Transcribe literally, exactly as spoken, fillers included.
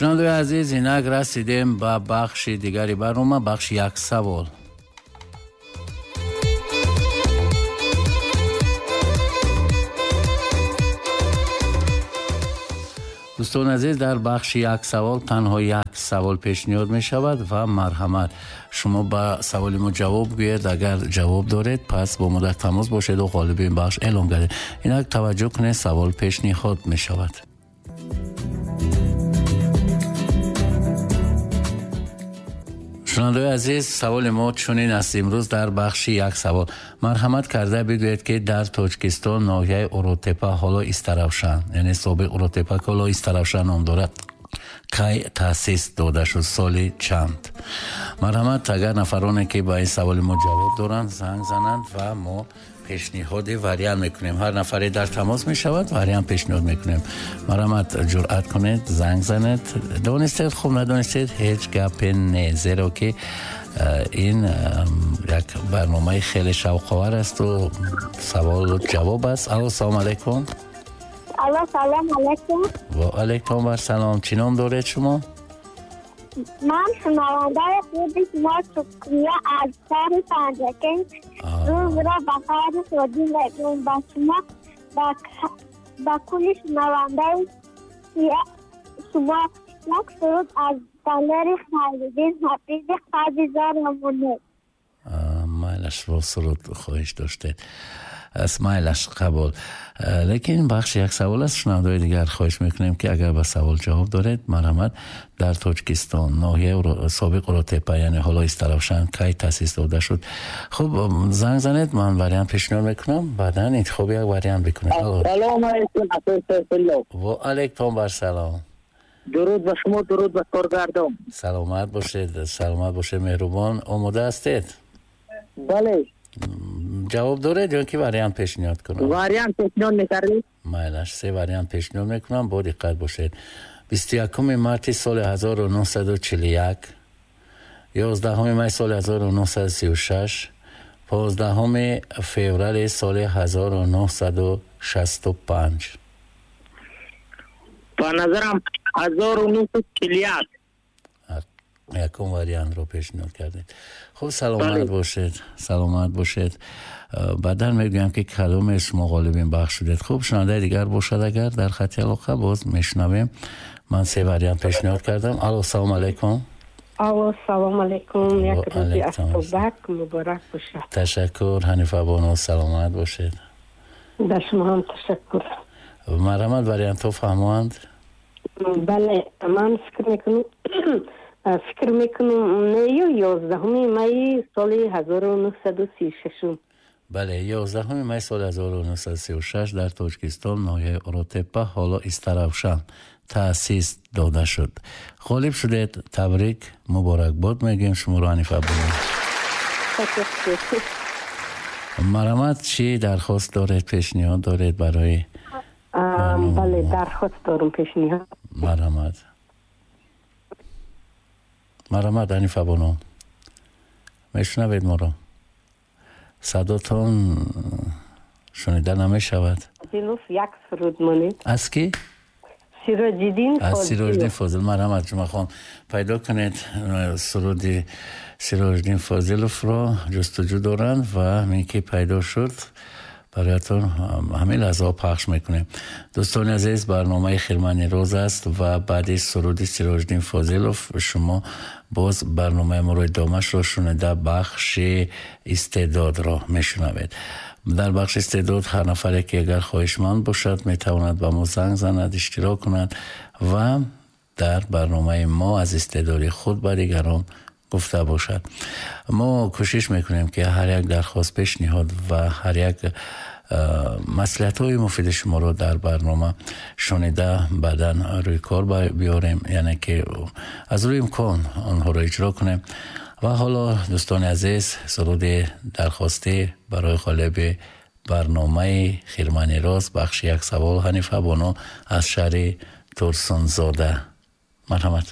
Шунавандаи азиз, инак расидем ба бахши дигари барнома, бахши як савол. Дӯстони азиз, дар бахши як савол танҳо як савол пешниҳод мешавад ва марҳамат, шумо ба саволи мо ҷавоб гӯед. Агар ҷавоб доред, пас бо мо дар тамос бошед ва ғолиби ин бахш эълон гардед. Инак таваҷҷӯҳ кунед, савол пешниҳод мешавад. Шунавандаи азиз, саволи мо чунин аст имрӯз дар бахши як савол. Марҳамат карда бигӯед, ки дар Тоҷикистон ноҳияи Уротепа, ҳоло Истаравшан, яъне собиқ Уротепа, ки ҳоло Истаравшан ном дорад, кай таъсис дода шуд, соли чанд? Марҳамат, агар нафароне ки ба ин саволи мо ҷавоб доранд, занг зананд ва мо пешниҳоди вариант мекунем. Ҳар нафаре дар тамос мешавад, вариант пешниҳод мекунем. Марҳамат, ҷуръат кунед, занг занед. Донистед хуб, надонистед ҳеҷ гапе не, зеро ки ин як барномаи хеле шавқовар аст ва саволу ҷавоб аст. Алло, салом алайкум. Алло, салом алайкум. Ва алайкум ассалом. Чӣ ном доред шумо? Ман шунавандаи худи шумо Шукрия аз шаҳри Панҷакент. Рӯзро ба хайру шодӣ мегӯям ба шумо, ба кулли шунавандаи шумо. Як суруд аз Далери Хайриддин Ҳафизи Қадизор монед. Майлаш, бо суруд хоҳиш доштед. Майлаш, қабул. Лекин бахши як савол аст. Шунавандаҳои дигар хоҳиш мекунем, ки агар ба савол ҷавоб доред, марҳамат, дар Тоҷикистон ноҳияи собиқ Уротепа, яъне ҳоло Истаравшан, кай таъсис дода шуд? Хуб, занг занед, ман вариант пешниҳод мекунам, баъдан интихоби як вариант бикунед. Салом алайкум, Асадулло. Ва алайкум ассалом. Дуруд ба шумо, дуруд ба коргардон. Саломат бошед, саломат бошед, меҳрубон. Омода ҳастед? Бале. Ҷавоб доред ё ки вариант пешниҳод кунам? Вариант пешниҳод мекардед? Майлаш, се вариант пешниҳод мекунам, бо диққат бошед. бисту якуми марти соли ҳазору нӯҳсаду чилу як, ёздаҳуми май соли ҳазору нӯҳсаду сию шаш, понздаҳуми феврали соли ҳазору нӯҳсаду шасту панҷ. Ба назарам ҳазору нӯҳсаду чилу як. Якум вариантро пешниҳод кардед. Хуб, саломат бошед, саломат бошед. Баъдан мегӯям, ки кадоме шумо ғолибин бахш шудед. Хуб, шунавандаи дигар бошад, агар дар хати алоқа, боз мешунавем. Ман се вариант пешниҳод кардам. Алло, салом алайкум. Алло, салом алайкум. Як рӯзи афтобак муборак бошад. Ташаккур, Ҳанифа бону, саломат бошед. Ба шумо ҳам ташаккур. Марҳамат, вариантҳо фаҳмонд? Бале, ман фикр мекунам фикр мекунам не, ёздаҳуми майи соли ҳазору нӯҳсаду сию шашум. Бале, ёздаҳуми май соли ҳазору нӯҳсаду сию шаш дар Тоҷикистон ноҳияи Уротепа, ҳоло Истаравшан, таъсис дода шуд. Ғолиб шудед, табрик, муборакбод мегӯем шуморо, Ҳанифа бону. Марҳамат, чӣ дархост доред, пешниҳод доред барои? Бале, дархост дорам, пешниҳод. Марҳамат. Марҳамат, Ҳанифа бону, мешунавед моро? Садотон шунида намешавад. Фозилов як суруд монед. Аз ки? Сироҷиддин Фозилов. Аз Сироҷиддин Фозил. Марҳамат, Ҷумъахон, пайдо кунед суруди Сироҷиддин Фозиловро, ҷустуҷӯ доранд ва ҳамин ки пайдо шуд, бароятон ҳамин лаҳзаҳо пахш мекунем. Дӯстони азиз, барномаи Хирмани рӯз аст ва баъди суруди Сироҷиддин Фозилов шумо боз барномаи моро идомаашро шунида бахши истеъдодро мешунавед. Дар бахши истеъдод ҳар нафаре ки агар хоҳишманд бошад, метавонад ба мо занг занад, иштирок кунад ва дар барномаи мо аз истеъдоди худ ба дигарон гуфта бошад. Мо кӯшиш мекунем, ки ҳар як дархост, пешниҳод ва ҳар як маслиҳатҳои муфиди шуморо дар барнома шунида баъдан рӯи кор биёрем, яъне ки аз рӯи имкон онҳоро иҷро кунем. Ва ҳоло, дӯстони азиз, суруди дархостӣ барои ғолиби барномаи Хирмани рӯз, бахши як савол, Ҳанифа бону аз шаҳри Турсунзода. Марҳамат.